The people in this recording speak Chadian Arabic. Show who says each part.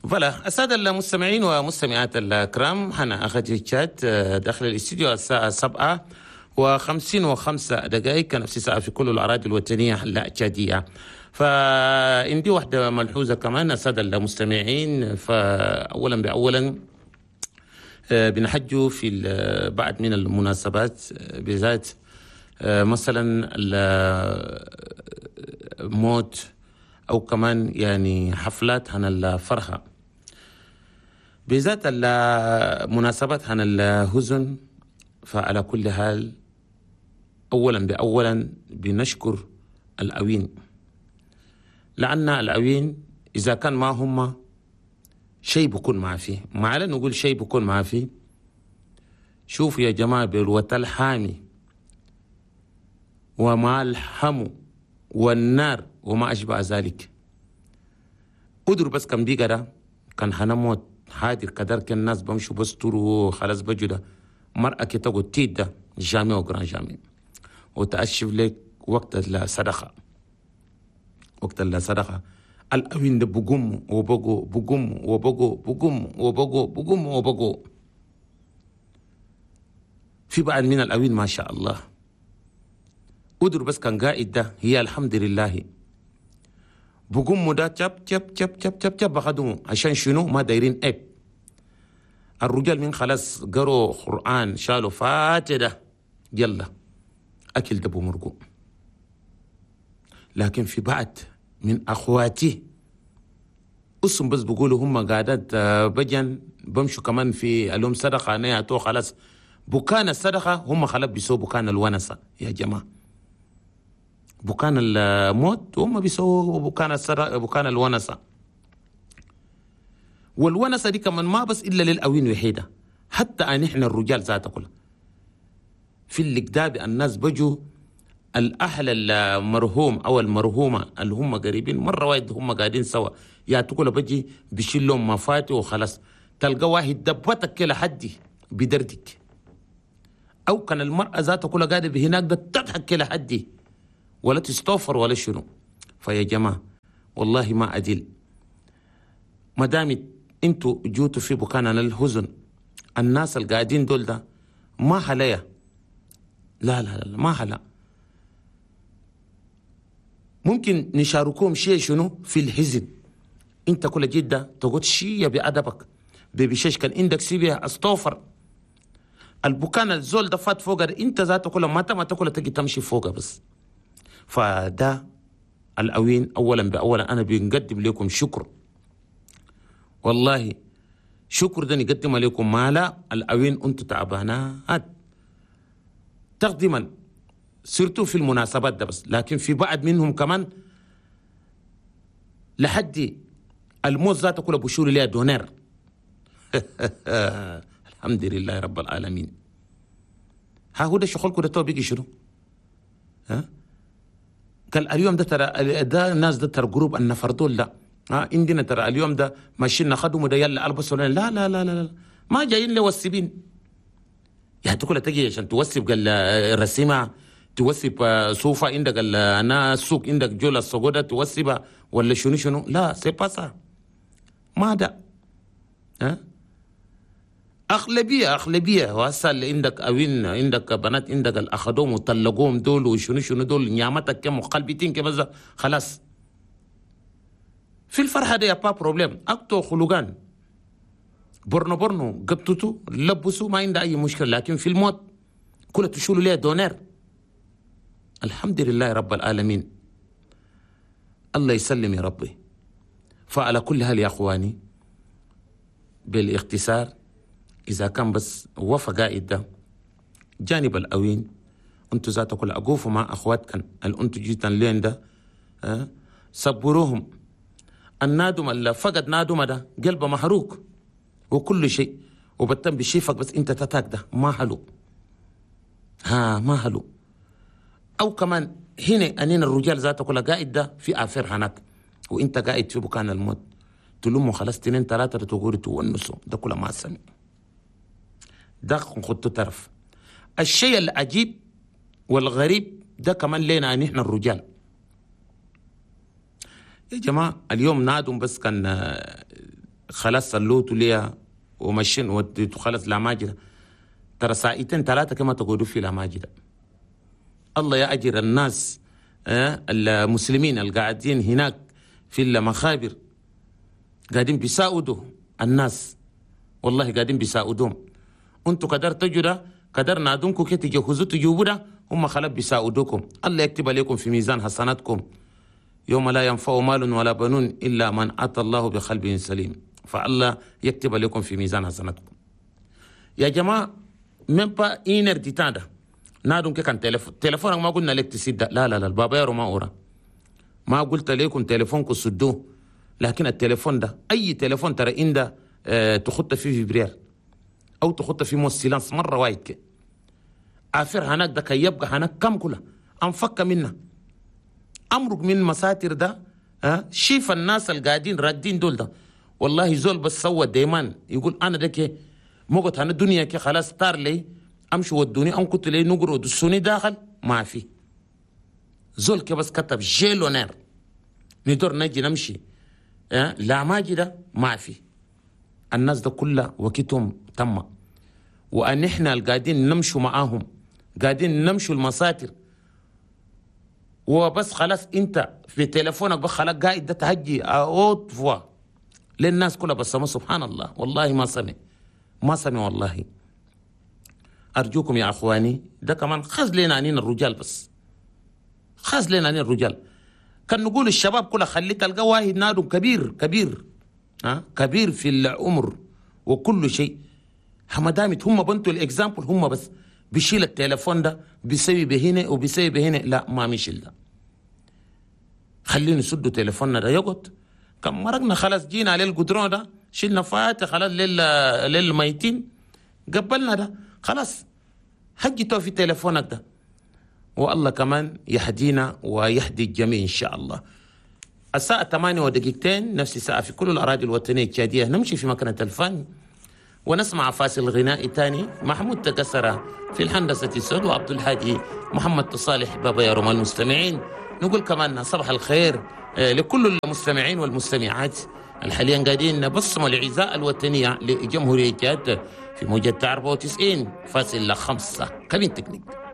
Speaker 1: voilà السادة المستمعين ومستمعات الكرام، حنا أخذ تشات داخل الاستديو الساعة 7:55، كنفس الساعة في كل الأراضي الوطنية التشادية. فعندي واحدة ملحوظة كمان السادة المستمعين، فأولا بأولا بنحجوا في بعض من المناسبات، بالذات مثلا الموت أو كمان يعني حفلات عن الفرحة، بالذات المناسبات عن الحزن. فعلى كل حال أولا بأولا بنشكر الأوين، لأن الأوين إذا كان ما هم شيء بكون ما فيه، ما على نقول شيء بكون ما فيه. شوف يا جماعة، بالوتل الحامي ومع الحمو والنار وما أشبه ذلك، قدر بس كم بيقرا كان حنموت حاضر كدر، كان الناس بمشوا بستروا خلاص بجوا مرأة كي تقول تيد ده jamais au grand jamais، وتأشف لك وقت الصدقة، وقت الصدقة الأوين ده بقوم وبقو بقوم وبقو بقوم وبقو بقوم وبقو. في بعض من الأوين ما شاء الله قدر بس كان قائد ده هي الحمد لله بقوم ده تشب تشب تشب تشب تشب تشب بخدمه. عشان شنو؟ ما دايرين عيب. الرجال من خلاص قروا قرآن شالوا فاتدة يلا أكل دبو مرقو. لكن في بعض من أخواتي أسم بس بقولوا هم قاعدات بجن بمشوا كمان في اليوم صدقة نياتو خلاص بكان الصدقة هم خلاص بيسووا بكان الونسة يا جماعة، بكان الموت هم بيسووا بكان الصدقة بكان الونسة. والونسة دي كمان ما بس إلا للأوين وحيدة، حتى أن إحنا الرجال ذات كلها في الكداب الناس بجوا الأهل المرهوم أو المرهومة اللي هم قريبين مرة واحد هم قاعدين سوا يا تقول بجي بشيل لهم مفاتي وخلاص، تلقى واحد دبتك كده حدي بدردك، أو كان المرأة ذاتها كلها قاعدة بهناك ده تضحك كده حدي ولا تستوفر ولا شنو. فيا جماعة والله ما أدل، ما دام انتوا جوتوا في بكان الحزن الناس القاعدين دول ده ما حليا، لا لا لا ما حلا. ممكن نشاركهم شيء شنو في الحزن، انت كل جدة تقول شيء بأدبك ببشيش كان عندك سيبيها استوفر البكان الزول ده فات فوق انت ذاته كل ما تاكل تجي تمشي فوق بس. فده الأوين أولا بأولا أنا بنقدم لكم شكر، والله شكر ده نقدم لكم ما لا الأوين أنتم تعبانات تقديما سيرتو في المناسبات ده بس، لكن في بعض منهم كمان لحد الموت ذاته كله بشور ليها دونير. الحمد لله رب العالمين. ها هو ده شغلكم ده تو بيجي شنو؟ ها؟ قال اليوم ده ترى ده الناس ده ترى groupe النفر دول لا، ها عندنا ترى اليوم ده ماشيين ناخدهم ده يلا البسوا لا لا لا لا لا ما جايين لوسبين. يعني تقول تجي عشان توسب قال رسيمه توسب صوفة عندك انا السوق عندك جولة السجودة توسبها ولا شنو شنو، لا c'est pas ça ما ده. ها أغلبية أغلبية وهسه اللي عندك أوين عندك بنات عندك الأخدوم وطلقوهم دول وشنو شنو دول نعمتك كم وقلبتين كم خلاص في الفرحة دي pas problème أكتو خلقان برنو برنو قطتو لبسوا ما عنده أي مشكلة، لكن في الموت كله تشولوا ليه دونير. الحمد لله رب العالمين، الله يسلم يا ربي. فعلى كل حال يا أخواني بالاختصار، إذا كان بس وفى قائد ده جانب الأوين أنتوا ذاتكم كل أقوفوا مع أخواتكم اللي أنتوا جيتن لين ده أه؟ صبروهم. النادم اللي فقد نادم ده قلبه محروق وكل شيء وبتم بشيفك بس أنت تتاك ده ما حلو، ها ما حلو. أو كمان هنا أنين الرجال ذاته كل قائد ده في آفر هناك وأنت قاعد في بكان الموت تلومه خلاص 2 3 تقول تونسوا ده كله ما سمع ده خدته طرف. الشيء العجيب والغريب ده كمان لنا نحن الرجال يا جماعة. اليوم نادم بس كان خلاص صلوتوا ليها ومشين وديتوا خلاص لا ماجدة، ترى ساعتين ثلاثة كما تقعدوا في لا ماجدة. الله يأجر الناس المسلمين القاعدين هناك في المخابر، قاعدين بيساعدوا الناس، والله قاعدين بيساعدوهم. انتوا قدر تجوا قدر نادونكم كي تجهزوا تجيبوا ده، هم خلاص بيساعدوكم. الله يكتب عليكم في ميزان حسناتكم يوم لا ينفع مال ولا بنون إلا من أتى الله بقلب سليم. فالله يكتب عليكم في ميزان حسناتكم. يا جماعة même pas une heure de temps ده نادون كي كان تليفون ما قلنا لك تسد، لا لا لا البابا يارو ما أورا، ما قلت لكم تليفونكم سدوه، لكن التليفون ده أي تليفون ترى إن ده تخط فيه vibreur أو تخط فيه mode silence مرة واحد كي. affaire هناك ده كي يبقى هناك كم كله أنفك منه أمرك من مساتر ده. شيف الناس القاعدين راقدين دول ده، والله زول بس سوى دايما يقول أنا ده كي موقت هنا الدنيا كي خلاص طار لي أمشي ودوني أم كنت لي نقر ودسوني داخل ما في زول كي بس كتب j'ai l'honneur ندور نجي نمشي لا ما ده ما في. الناس ده كلها وقتهم تم، وأن إحنا القاعدين نمشوا معاهم قاعدين نمشوا المساتر وبس خلاص. انت في تليفونك بس خلاص قاعد ده تهجي à haute voix للناس كلها، بس ما سبحان الله والله ما سمع ما سمع والله. أرجوكم يا أخواني ده كمان خاص لنا عنين الرجال، بس خاص لنا عنين الرجال. كان نقول الشباب كلها خلي تلقى واحد نادو كبير كبير كبير في العمر وكل شيء، حمدامت هم بنتوا ال exemple، هم بس بيشيل التليفون ده بيسوي بهنا وبيسوي بهنا، لا ما مشيل ده. خلينا نسدوا تليفوننا ده يقعد. كم مرقنا خلاص جينا على القدرون ده شلنا فاتح خلاص للميتين قبلنا ده خلاص حجتوا في تليفونك ده. والله كمان يهدينا ويهدي الجميع إن شاء الله. الساعة 8:02 نفس الساعة في كل الأراضي الوطنية التشادية. نمشي في مكنة الفن ونسمع فاصل غنائي تاني. محمود تكسر في الهندسة الصوت وعبد الهادي محمد صالح بابا يا روما المستمعين. نقول كمان صباح الخير لكل المستمعين والمستمعات الحاليا قاعدين بصموا العزاء الوطنية لجمهورية جاد في موجة 94.5 cabine technique.